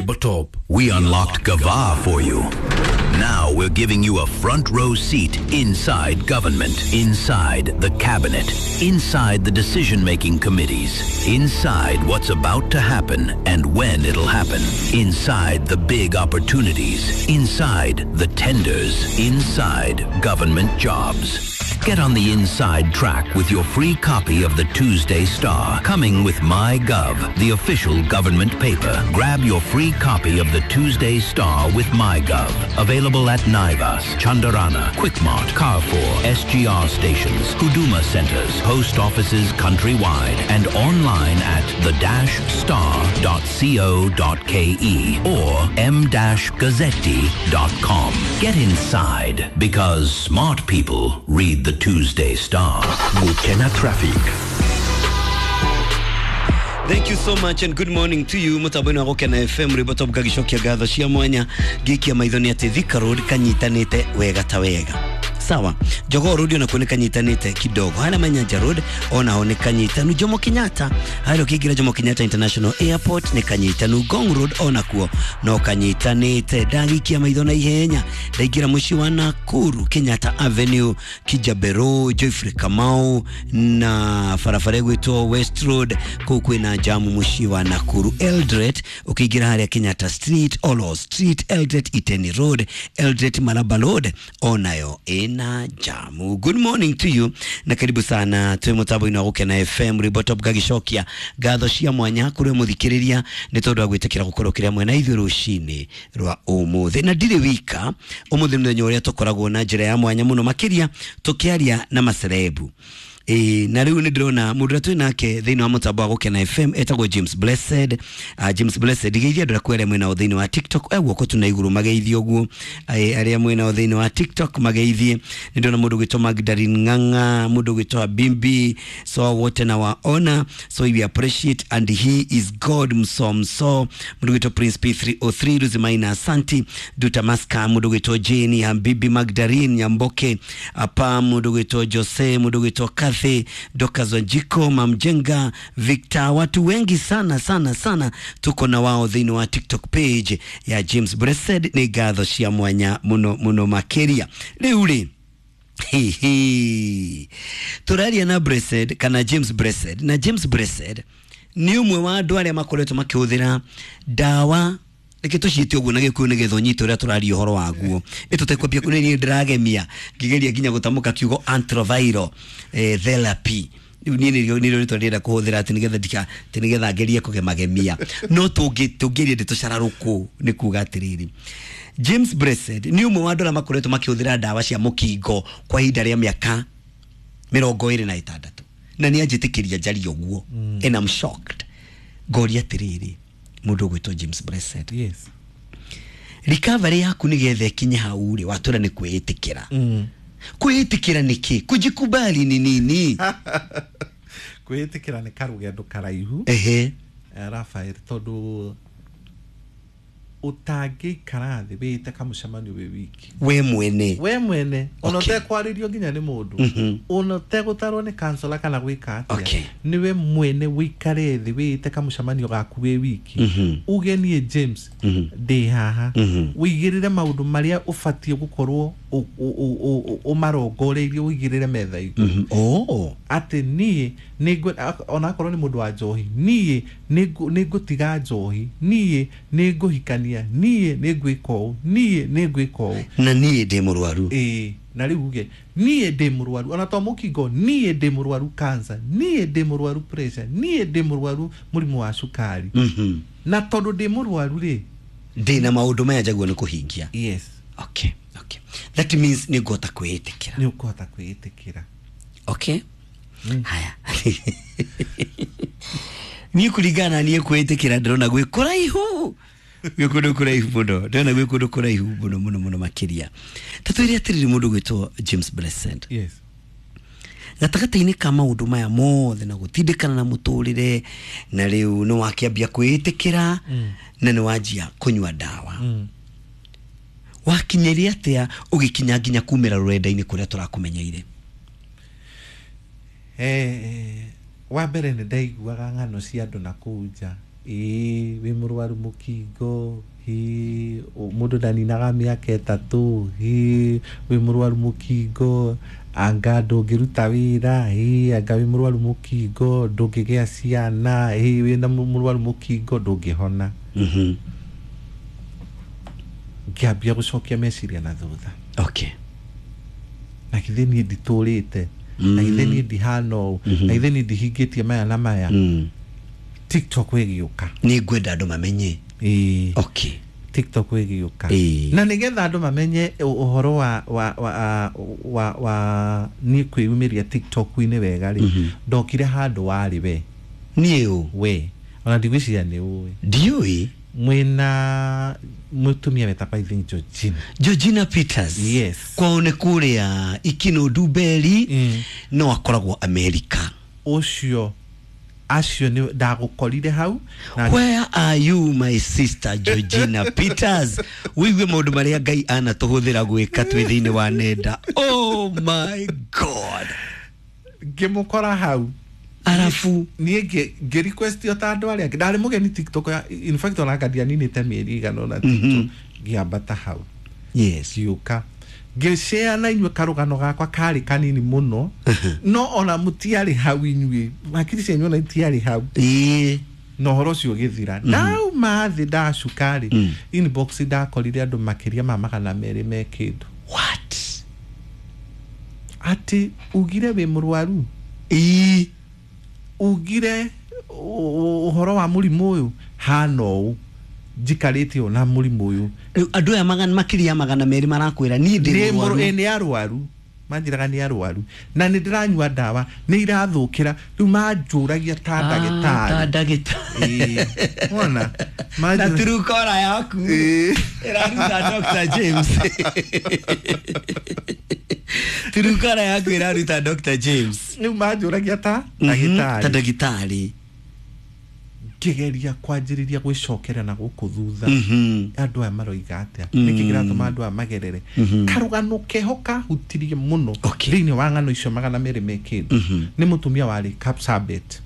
Rwimbo Top. We unlocked Gava for you. Now we're giving you a front row seat inside government, inside the cabinet, inside the decision making committees, inside what's about to happen and when it'll happen, inside the big opportunities, inside the tenders, inside government jobs. Get on the inside track with your free copy of the Tuesday Star, coming with MyGov, the official government paper. Grab your free copy of the Tuesday Star with MyGov. Available at Naivas, Chandarana, Quickmart, Carrefour, SGR stations, Huduma centers, post offices countrywide, and online at the-star.co.ke or m-gazzetti.com. Get inside because smart people read the Tuesday Star. Mukena Traffic. Thank you so much and good morning to you mutambo-inĩ wa Gũkena FM rwĩmbo top ngagicokia ngatho cia mwanya ngĩikia maitho nĩ atĩ Thika Road kanyitanĩte wega ta wega sawa. Jogoo Road onakuo nĩ kanyitanĩte kidogo, harĩa Manyanja Road onaho nĩ kanyitanu, Jomo Kenyatta harĩa ũkĩingĩra Jomo Kenyatta International Airport nĩ kanyitanu, Ngong Road onakuo no kanyitanĩte. Ndagikia maitho na ihenya ndaingĩra mũciĩ wa Nakuru, Kenyatta Avenue, Kijabero, Joyfrey Kamau na barabara ĩgwĩtwo West Road, kũu kwĩna jamu mũciĩ wa Nakuru. Eldoret ũkĩingĩra harĩa Kenyatta Street, Olo Street, Eldoret Iteni Road, Eldoret Maraba Road onayo ĩna jamu. Good morning to you na karibu sana twĩ mũtambo-inĩ wa Gũkena FM rwĩmbo top ngagicokia ngatho cia mwanya kũrĩ mũthikĩrĩria nĩ tondũ wa gwĩtĩkĩra gũkorwo kĩrĩa mwena ithuĩ rũcinĩ rwa ũmũthĩ. Na ndirĩ wika ũmũthĩ nĩ mũthenya ũrĩa tũkoragwo na njĩra ya mwanya mũno makĩria tũkĩaria na macerebu. Ĩĩ, na rĩu nĩ ndĩrona mũndũ ũrĩa twĩ nake thĩinĩ wa mũtambo wa Gũkena FM etagwo James Blessed. James Blessed geithia andũ arĩa mwĩ nao thĩinĩ wa TikTok, e guoko tu na igũrũ mageithie ũguo. Arĩa mwĩ nao thĩinĩ wa TikTok mageithie. Nĩ ndĩrona mũndũ ũgwĩtwo Magdalene Ng'ang'a, mũndũ ũgwĩtwo Habimbi, so wote na waona, so we appreciate and he is God mso mso. Mũndũ ũgwĩtwo Prince P303, Ruzimaina Asanti, Duta Maska, mũndũ ũgwĩtwo Jane Habibi, Magdalene Nyamboke, apa mũndũ ũgwĩtwo Jose, mũndũ ũgwĩtwo Kathy, Dorcas Wanjiko, Mamjenga, Victor, watu wengi sana sana sana tuko na wao thĩinĩ wa TikTok page ya James Blessed. Nĩ ngatho cia mwanya mũno mũno makĩria. Rĩu rĩ, hihi tũraria na Blessed kana James Blessed, na James Blessed nĩ ũmwe wa andũ arĩa makoretwo makĩhũthĩra ndawa, reke tũciĩte ũguo na gĩkũyũ nĩgetha ũnyite ũrĩa tũraria ũhoro waguo, ĩtũtekwambia kũrĩ niĩ ndĩragemia ngĩgeria nginya gũtamũka kiugo antiretroviral therapy. Rĩu niĩ nĩrĩo rĩtwa ndĩrenda kũhũthĩra atĩ nĩgetha ndika atĩ nĩgetha ngerie kũgemagemia, no tũngĩria ndeto cararũkũ nĩ kuga atĩrĩrĩ, James Blessed nĩ ũmwe wa andũ arĩa makoretwo makĩhũthĩra ndawa cia mũkingo kwa ihinda rĩa mĩaka 26, na nĩ anjĩtĩkĩria njarie ũguo, and I'm shocked. Ngoria atĩrĩrĩ, mũndũ ũgwĩtwo James Blessed, Yes. recovery yaku nĩgetha ĩkinye hau rĩ, watwĩra nĩ kwĩĩtĩkĩra. Kwĩĩtĩkĩra nĩ kĩ? Kujikubali ni nini? Kwĩĩtĩkĩra nĩ karũgendo karaihu. Ehe. Rafael, tondũ ũtangĩikara thĩ wĩte kamũcemanio wĩ wiki, we mwene, we mwene, ona ũtekwarĩrio nginya nĩ mũndũ, ona ũtegũtarwo nĩ kansela kana gwĩka atĩa, nĩwe mwene wĩikare thĩ wĩte kamũcemanio gaku wĩ wiki, uge niĩ James ndĩ haha, wĩigĩrĩre maũndũ marĩa ũbatiĩ gũkorwo ũmarongoreirie, ũigĩrĩre metha igũrũ. Oh. Atĩ niĩ onakorwo nĩ mũndũ wa njohi, niĩ nĩ ngũtiga njohi, niĩ nĩ ngũhikania, niĩ nĩ ngwĩka ũũ, niĩ nĩ ngwĩka ũũ. Na niĩ ndĩ mũrwaru. Ĩĩ, na rĩu uge niĩ ndĩ mũrwaru ona to mũkingo, niĩ ndĩ mũrwaru cancer, niĩ ndĩ mũrwaru pressure, niĩ ndĩ mũrwaru mũrimũ wa cukari, na tondũ ndĩ mũrwaru rĩ, ndĩ na maũndũ maya njaguo nĩ kũhingia. Yes. Okay, that means nĩ ngũhota kwĩĩtĩkĩra. Nĩ ũkũhota kwĩĩtĩkĩra. Okay, haya, niĩ kũringana na niĩ kwĩĩtĩkĩra ndĩrona gwĩ kũraihu, gwĩ kũndũ kũraihu mũno, ndĩrona gwĩ kũndũ kũraihu mũno mũno mũno makĩria. Ta twĩre atĩrĩrĩ, mũndũ gwĩtwo James Blessed, Yes. gatagatĩ-inĩ ka maũndũ maya mothe na gũtindĩkana na mũtũrĩre, na rĩu nĩ wakĩambia kwĩĩtĩkĩra na nĩ wanjia kũnyua ndawa, wakinyĩria atĩa ũgĩkinya nginya kumĩra rũrenda-inĩ kũrĩa tũrakũmenyeire? Wa mbere nĩ ndaiguaga ng'ano cia andũ na kũu nja. Ĩĩ, wĩ mũrwaru mũkingo, ĩĩ, mũndũ ndaninaga mĩaka 3, ĩĩ, wĩ mũrwaru mũkingo, anga ndũngĩruta wĩra, ĩĩ, anga wĩ mũrwaru mũkingo ndũngĩgĩa ciana, ĩĩ, wĩna mũrwaru mũkingo ndũngĩhona. Ngĩambia gũcokia meciria na thutha. Okay. Na githĩ niĩ nditũrĩte, na githĩ niĩ ndihana ũũ, na githĩ niĩ ndihingĩtie maya na maya. TikTok ĩgĩũka. Nĩ ngwenda andũ mamenye. Ĩĩ. Okay. TikTok ĩgĩũka. Ĩĩ. Na nĩgetha andũ mamenye ũhoro wa niĩ kwĩyumĩria TikTok-inĩ wega rĩ, ndokire handũ warĩ we. Niĩ ũ? We. Ona ndigwĩciria nĩ ũĩ. Ndiũĩ. Mwĩna mũtumia wetagwo I think Georgina. Georgina Peters. Yes. Kwao nĩ kũrĩa Ikino Ndumberi. No akoragwo America. Ũcio acio nĩ ndagũkorire hau na Where are you my sister Georgina Peters? Wĩigue maũndũ marĩa Ngai anatũhũthĩra gwĩka twĩ thĩinĩ wa nenda. Oh my God. Ngĩmũkora hau. Arafu niĩ ngĩ request o ta andũ arĩa angĩ. Ndarĩ mũgeni TikTok, in fact ona anga ndianinĩte mĩeri ĩigana ũna TikTok. Ngĩambata hau. Yes. Ngĩũka ngĩshare na inyuĩ karũgano gakwa karĩ kanini mũno, no ona mũtiarĩ hau inyuĩ, hakiri cianyu ona itiarĩ hau. Ĩĩ. Na ũhoro ũcio ũgĩthira. Ndauma thĩ ndacuka rĩ, inbox ndakorire andũ makĩria ma 200 me kĩndũ. What? Atĩ ugire wĩ mũrwaru. Ĩĩ. Ugire ũhoro wa mũrimũ ũyũ hana ũũ, njikarĩte ũũ na mũrimũ ũyũ. Andũ aya makĩria 200 marakwĩra niĩ ndĩ mũrwaru. Nĩ arwaru. Manjĩraga nĩ arwaru. Na nĩ ndĩranyua ndawa, nĩ irathũkĩra. Rĩu manjũragia ta ndagĩtarĩ. Ta ndagĩtarĩ. Wona? Na Truecaller yaku. Ĩraruta Dr. James. Truecaller yaku ĩraruta Dr. James. Rĩu manjũragia ta ndagĩtarĩ. Ta ndagĩtarĩ. Ngĩgeria kwanjĩrĩria gwĩcokera na gũkũ thutha. Andũ aya maroiga atĩa? Nĩkĩ kĩratũma andũ aya magerere? Karũgano keho kahutirie mũno thĩinĩ wa ng'ano icio 200 me kĩndũ. Nĩ mũtumia warĩ Kapsabet.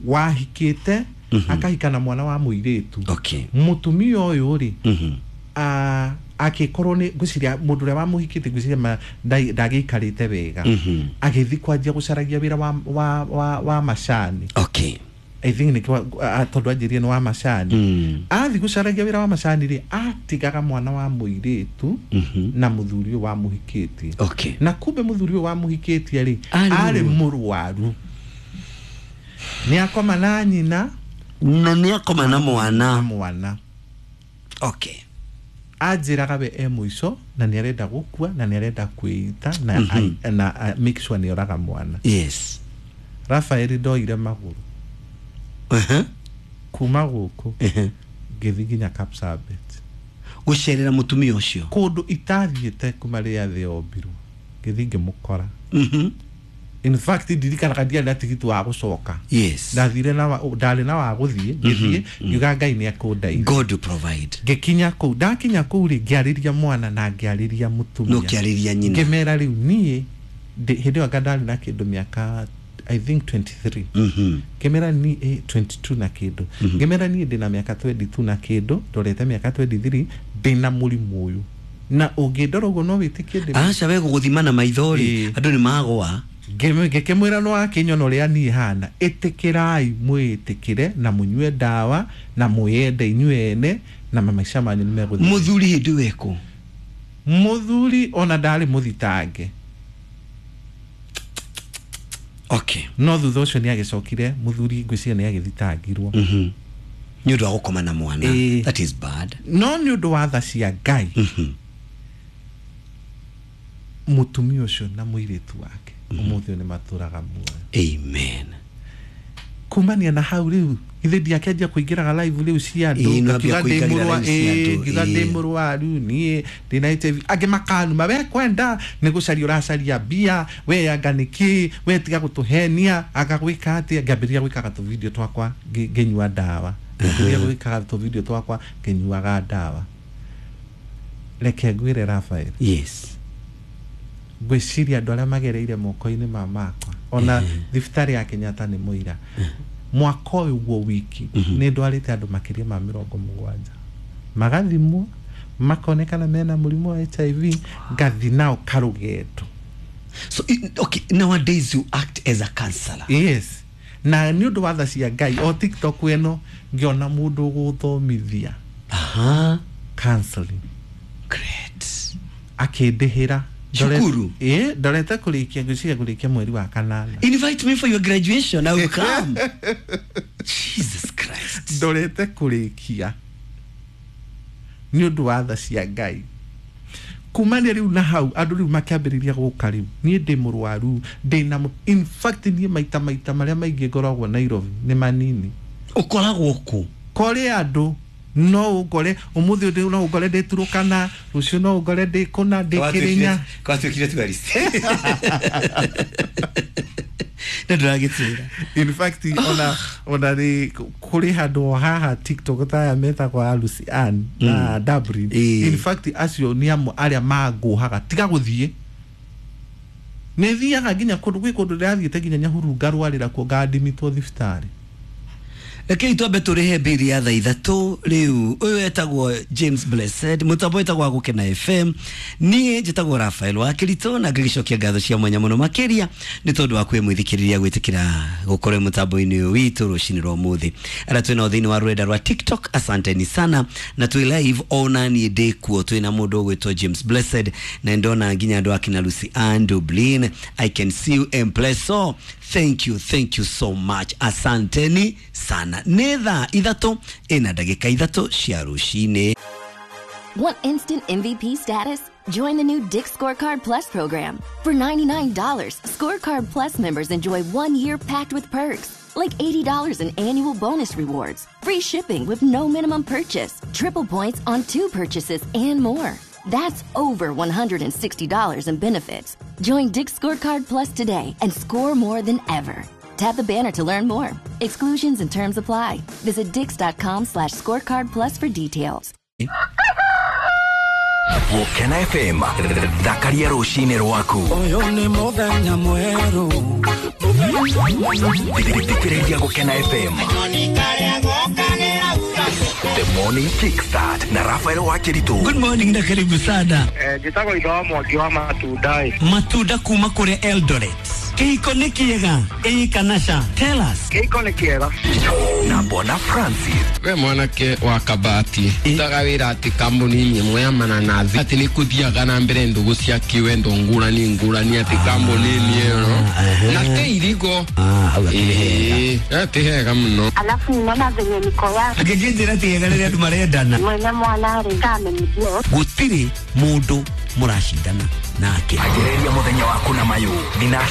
Wahikĩte akahika na mwana wa mũirĩtu. Mũtumia ũyũ rĩ, akĩkorwo nĩ ngwĩciria mũndũ ũrĩa wamũhikĩte ngwĩciria ndagĩikarĩte wega. Agĩthiĩ kwanjia gũcaragia wĩra wa macani. Okay. I think nĩkĩo tondũ anjĩrire nĩ wa macani. Athiĩ gũcaragia wĩra wa macani rĩ, atigaga mwana wa mũirĩtu na mũthuri ũyũ wamũhikĩtie. Okay. Na kumbe mũthuri ũyũ wamũhikĩtie rĩ, arĩ mũrwaru. Nĩ akoma na nyina. Na nĩ akoma na mwana. Mwana. Okay. Anjĩraga we e mũico na nĩ arenda gũkua na nĩ arenda kwĩita na make sure nĩ oraga mwana. Yes. Rafael ndoire magũrũ. Kuma gũkũ ngĩthiĩ nginya Kapsabet gũcerera mũtumia ũcio kũndũ itathiĩte kuma rĩrĩa thĩ yombirwo, ngĩthiĩ ngĩmũkora. In fact ndirikanaga ndiarĩ na tigiti wa gũcoka. Yes. Ndathire na ndarĩ na wa gũthiĩ, ngĩthiĩ ngiuga Ngai nĩ akũndeithia. God will provide. Ngĩkinya kũu, ndakinya kũu rĩ, ngĩarĩria mwana na ngĩarĩria mũtumia. No kĩarĩria nyina. Ngĩmera rĩu niĩ hĩndĩ ĩyo anga ndarĩ na kĩndũ mĩaka I think 23. Ngĩmera ni 22 na kĩndũ. Ngĩmera niĩ ndĩna mĩaka 22 na kĩndũ, ndorete mĩaka 23, ndĩna mũrimũ ũyũ. Na ũngĩndora ũguo no wĩtĩkie ndĩ. Aca we gũgũthima na maitho rĩ, andũ nĩ magũa. Ngĩkĩmwĩra no akĩnyona ũrĩa niĩ hana, ĩtĩkĩrai mwĩtĩkĩre na mũnyue ndawa na mwĩyende inyuĩ ene na maica manyu nĩ megũthiĩ. Mũthuri hĩndĩ ĩyo ekũ? Mũthuri ona ndarĩ mũthitange. Okay. No thutha ũcio nĩ agĩcokire mũthuri ngwĩciria nĩ agĩthitangirwo. Nĩ ũndũ wa gũkoma na mwana. That is bad. No nĩ ũndũ wa tha cia Ngai. Mũtumia ũcio na mũirĩtu wake ũmũthĩ ũyũ nĩ matũraga muoyo. Amen. Kumania na hau rĩu ithe ndiakĩanjia kũingĩraga live rĩu cia andũ, ngakiuga ndĩ mũrwaru niĩ ndĩna HIV, angĩ makanuma we kwenda nĩ gũcaria ũracaria mbia, we anga nĩkĩ, we tiga gũtũhenia, anga gwĩka atĩa. Ngĩambĩrĩria gwĩkaga tũvideo twakwa ngĩnyua ndawa, ngĩambĩrĩria gwĩkaga tũvideo twakwa ngĩnyuaga ndawa. Reke ngwĩre Rafael. Yes. Ngwĩciria andũ arĩa magereire moko-inĩ ma makwa ona thibitarĩ ya Kenyatta nĩ mũira. Mwaka ũyũ guo wiki nĩ ndwarĩte andũ makĩria ma 70 magathimwo makonekana mena mũrimũ wa HIV, ngathi nao karũgendo. So okay, nowadays you act as a counselor. Yes, na nĩ ũndũ wa tha cia Ngai, o TikTok ĩno ngĩona mũndũ ũgũthomithia Aha. counseling. Great. Akĩndĩhĩra. Cukuru? Ĩ, ndorete kũrĩkia, ngwĩciria kũrĩkia mweri wa kanana. Invite me for your graduation, I will come. Jesus Christ. Ndorete kũrĩkia nĩ ũndũ wa tha cia Ngai. Kumania rĩu na hau andũ rĩu makĩambĩrĩria gũka, rĩu niĩ ndĩ mũrwaru, ndĩna in fact niĩ maita marĩa maingĩ ngoragwo Nairobi nĩ manini. Ũkoragwo kũ? Kũrĩ andũ no ũngore ũmũthĩ ũndĩ, no ũngore ndĩ Turukana, rũciũ no ũngore ndĩ kũna, ndĩ Kĩrĩnya. Kwatuĩkire tourist. Na ndũragĩtwĩra. In fact ona rĩ kũrĩ handũ o haha TikTok taya metagwo a Lucy Ann na Dublin. In fact acio nĩ amwe arĩa mangũhaga tiga gũthiĩ, nĩ thiaga nginya kũndũ, gwĩ kũndũ ndĩrathiĩte nginya Nyahururu ngarwarĩra kuo, ngandimitwo thibitarĩ. Rekei twambe tũrĩhe mbiri ya thaa 3 rĩu. Ũyũ etagwo James Blessed, mũtambo wĩtagwo wa Gũkena FM. Niĩ njĩtagwo Rafael wa Kĩritũ na ngĩgĩcokia ngatho cia mwanya mũno makĩria nĩ tondũ wa kwĩ mwĩthikĩrĩria gwĩtĩkĩra gũkorwo mũtambo-inĩ ũyũ witũ rũcinĩ rwa ũmũthĩ. Arĩa twĩ nao thĩinĩ wa rũrenda rwa TikTok, asanteni sana, na twĩ live ona niĩ ndĩ kuo, twĩ na mũndũ ũgwĩtwo James Blessed na ndona nginya andũ akina Lucy Ann Dublin. I can see you Empleso. Thank you, thank you so much, asanteni sana. Nĩ thaa 3:03 cia rũcinĩ. Want instant MVP status? Join the new Dick's Scorecard Plus program. For $99, Scorecard Plus members enjoy 1 year packed with perks, like $80 in annual bonus rewards, free shipping with no minimum purchase, triple points on 2 purchases, and more. That's over $160 in benefits. Join Dick's Scorecard Plus today and score more than ever. Tap the banner to learn more. Exclusions and terms apply. Visit dix.com/scorecard plus for details. Gũkena FM, thakaria rũcinĩ rwaku. Ũyũ nĩ mũthenya mwerũ. Thikĩrĩria Gũkena FM. The Morning Kickstart na Rafael Wakĩritũ. Good morning na karibu sana. Njĩtagwo itho wa Mwangi wa Matunda ĩ. Matunda kuma kũrĩa Eldoret. Kĩhiko nĩ kĩega ĩĩ kana ca? Tell us. Kĩhiko nĩ kĩega. Na Bwana Francis. We mwanake wa Kabati utaga wĩra atĩ kambuni ĩmwe ya mananathi atĩ nĩ kũthiaga na mbere ndũgũ cia kĩwendo ngũrani ngũrani atĩ kambuni-inĩ ĩyo na te irigo. Hau akĩrĩ hega. Ĩĩ, ti hega mũno. Alafu ninaona venye niko yake. Angĩkĩnjĩra ti hega rĩrĩa andũ marendana. Mwene mwana rĩ kamenyithio. Gũtirĩ mũndũ mũracindana nake. Anjĩrĩria mũthenya waku na mayũ. Thinacara